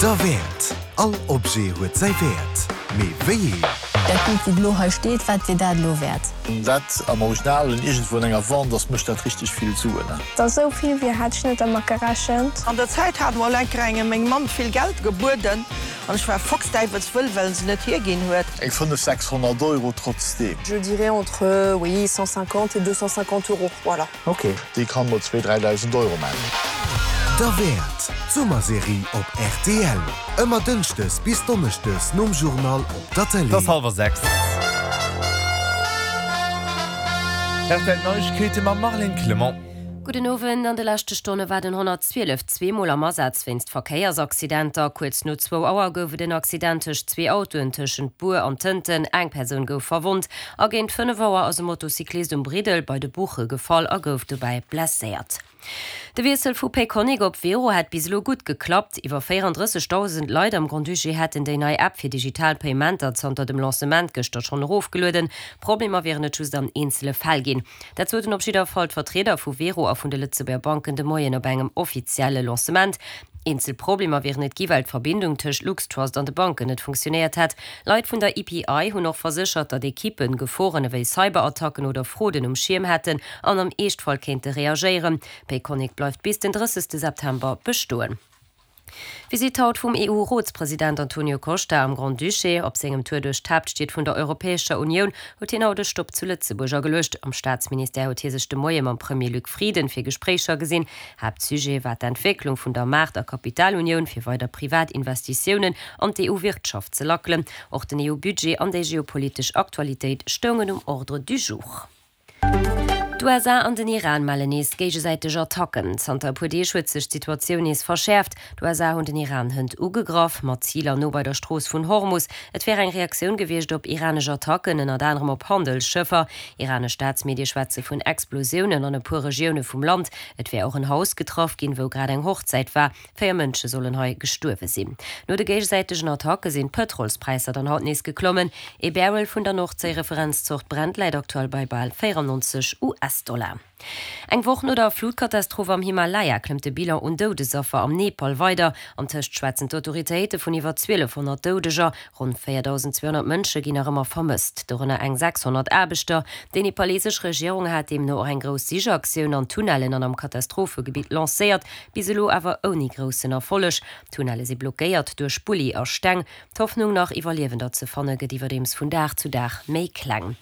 Derwäert! All Objet huet säi Wäert, mee wéi een? Dat Bild wéi et elo hei steet, wat wier dat elo wäert? Wann dat am Originalen iergendwou an enger Vente ass, mécht dat richteg vill Suen. Dass esou vill wier, hat ech net dermat gerechent. An der Zäit hat mer Lenkerengem meng Mamm vill Geld gebueden an ech war foxdäiwelswëll, well se net hierginn huet. Eng 5, 600 Euro trotzdeem. Je dirais entre, oui, 150 et 250 euros, voilà. Ok, déi kann mol zwee, 3.000 Euro man. Derwäert, d'Summerserie op rtl. Ëmmer dënschdes bis donneschdes nom Journal op der Tëlee. Et ass hallwer 6. Rtl Neiegkeete mam Marlène Clement. Gudden Owend. An de leschte Stonne war den 112 zweemol am Asaz wéinst Verkéiersaccidenter. Kuerz no zwou Auer gouf et en Accident tëscht zwee Autoen tëschent Bur an Tënten. Eng Persoun gouf verwonnt. A géint 5 Auer ass e Motocyclist um Briddel bei de Buche gefall a gouf dobäi blesséiert. De Wiessel vu Payconiq op Wero hätt bis elo gutt geklappt. Iwwer 34.000 Leit am Grand-Duché hätten déi nei App fir digital Payementer zanter dem Lancement gëschter schonn erofgelueden. Problemer wieren et just an eenzele Fäll ginn. Dat soten op jidder Fall d'Vertrieder vu Wero a vun de Lëtzebuerger Banken de Moien op engem offizielle Lancement. Eenzel Problemer wieren et gi well d'Verbindung tëscht LuxTrust an de Banken net funktionéiert hätt. Leit vun der EPI hunn och verséchert, datt Ekippen Geforen ewéi Cyberattacken oder Frauden um Schierm hätten an am Eeschtfall kéinte reagéieren. Payconiq bleift bis den 30 September bestoen. Visitt haut vum EU-Rotspresident Antonio Costa am Grand-Duché. Op sengem Tour duerch d'Haaptstied vun der Europäescher Unioun huet hien haut e Stopp zu Lëtzebuerg ageluecht. Am Staatsministère huet hie sech de Moie mam Premier Luc Frieden fir Gespréicher gesinn. Haaptsujet war d'Entwécklung vun der Maart a Kapitalunioun, fir weider privat Investitiounen an d'EU-Wirtschaft ze lackelen. Och den EU-Budget an déi geopolitesch Aktualitéit stoungen um Ordre du jour. D'USA an den Iran mellen nees géigesäiteg Attacken. Zanter e puer Deeg huet sech d'Situatioun nees verschäerft. D'USA hunn den Iran hënt ugegraff, mat Ziler no bei der Strooss vun Hormus. Et wär eng Reaktioun gewiescht op iranesch Attacken, ënnert anerem op Handelsschëffer. Iranesch Staatsmedie schwätze vun Explosiounen an e puer Regioune vum Land. Et wär och en Haus getraff ginn, wou grad eng Hochzäit war. 4 Mënsche sollen hei gestuerwe sinn. No de géigesäitegen Attacke sinn d'Pëtrolspräisser dann haut nees geklommen. Ee Barrel vun der Nordséi-Referenzzort Brent läit aktuell bei bal 94 US-Dollar. Eng Woch no der Flutkatastroph am Himalaya klëmmt de Bilan un Doudesaffer am Nepal weider. Antëscht schwätzen d'Autoritéite vun iwwer 1.200 Doudeger. Ronn 4.200 Mënsche ginn nach ëmmer vermësst, dorënner eng 600 Aarbechter. Déi nepalesesch Regierung hat deemno och eng grouss Sichaktioun an Tunnellen an am Katastrophegebitt lancéiert, bis elo awer ouni groussen Erfolleg. D'Tunnelle si blockéiert duerch Bulli a Steng. D'Hoffnung, nach Iwwerliewender ze fanne gëtt iwwerdeems vun Dag zu Dag méi kleng.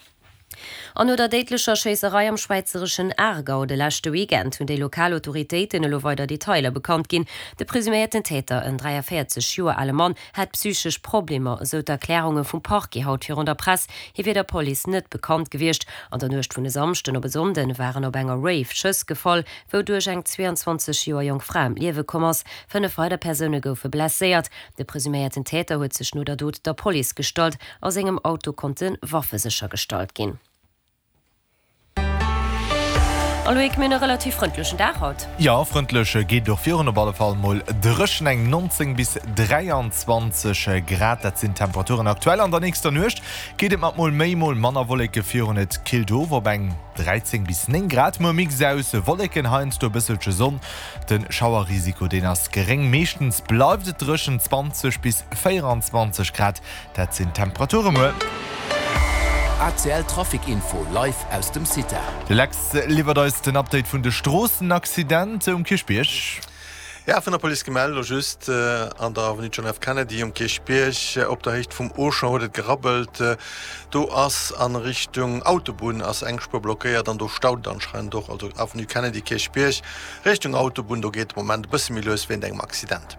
An no der déidlecher Schéisserei am schwäizereschen Aargau de leschte Weekend hunn déi lokal Autoritéiten elo weider Detailer bekannt ginn. De presuméierten Täter, en 43 Joer ale Mann, hätt psychesch Problemer, esou d'Erklärunge vum Parquet haut virun der Press. Hie wier der Police net bekannt gewiescht. An der Nuecht vun e Samschden op e Sonnde waren op enger Rave Schëss gefall, wouduerch eng 22 Joer jonk Fra ëm d'Liewe komm ass. 5 weider Persoune goufe blesséiert. De presuméierten Täter huet sech no der Dot der Police gestallt. A sengem Auto konnte Waffe séchergestallt ginn. A Loïc, mir hunn e relativ frëndlechen Dag haut. Jo, frëndlech geet et och virun, op alle Fall mol dréchen, eng 19 bis 23 Grad, dat sinn d'Temperaturen aktuell. An der nächster Nuecht geet et mat mol méi, mol manner Wolleke virun, et killt of op eng 13 bis 9 Grad. Muer Mix aus Wolleken, heiansdo e bësselche Sonn, de Schauerrisiko deen ass geréng. Meeschtens bleift et dréchen, 20 bis 24 Grad. Dat sinn d'Temperature muer. ACL Trafic Info live aus dem CITA. De Lex liwwert eis den Update vun de Stroossenaccident um Kierchbierg. Ja, vun der Police gemellt, elo just an der Avenue John F. Kennedy um Kierchbierg op der Héicht vum Auchan huet et gerabbelt. Do ass a Richtung Autobunn ass eng Spuer blockéiert an do staut et anscheinend och. Also Avenue Kennedy, Kierchbierg Richtung Autobunn, do geet de Moment e bësse méi lues wéint engem Accident.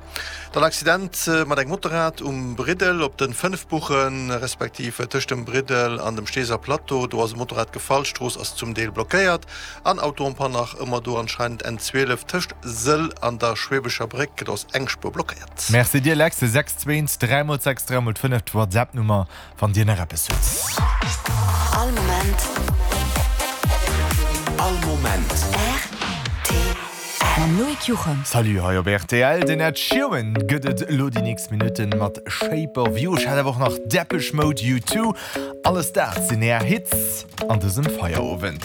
Dann Accident mat engem Motorrad um Briddel op den 5 Buchen, respektiv tëscht dem Briddel an dem Steeser Plateau. Do ass e Motorrad gefall, d'Strooss ass zum Deel blockéiert. An Auto en panne nach ëmmer do anscheinend N12 tëscht Sëll an der Schweebecher Bréck, do ass eng Spuer blockéiert. Merci dir Lex, 6 2 3 mol 6 3 mol 5 d'Whatsapp Nummer wann dir nach eppes hutt. All Moment. All Moment. Rtl. Mam Loïc Juchem. Salut hei op rtl. Den Ed Sheeran gëtt et elo déi nächst Minutten mat Shape of You. Ech hat awer och nach Depeche Mode, U2. Alles dat sinn är Hits an dësem Feierowend.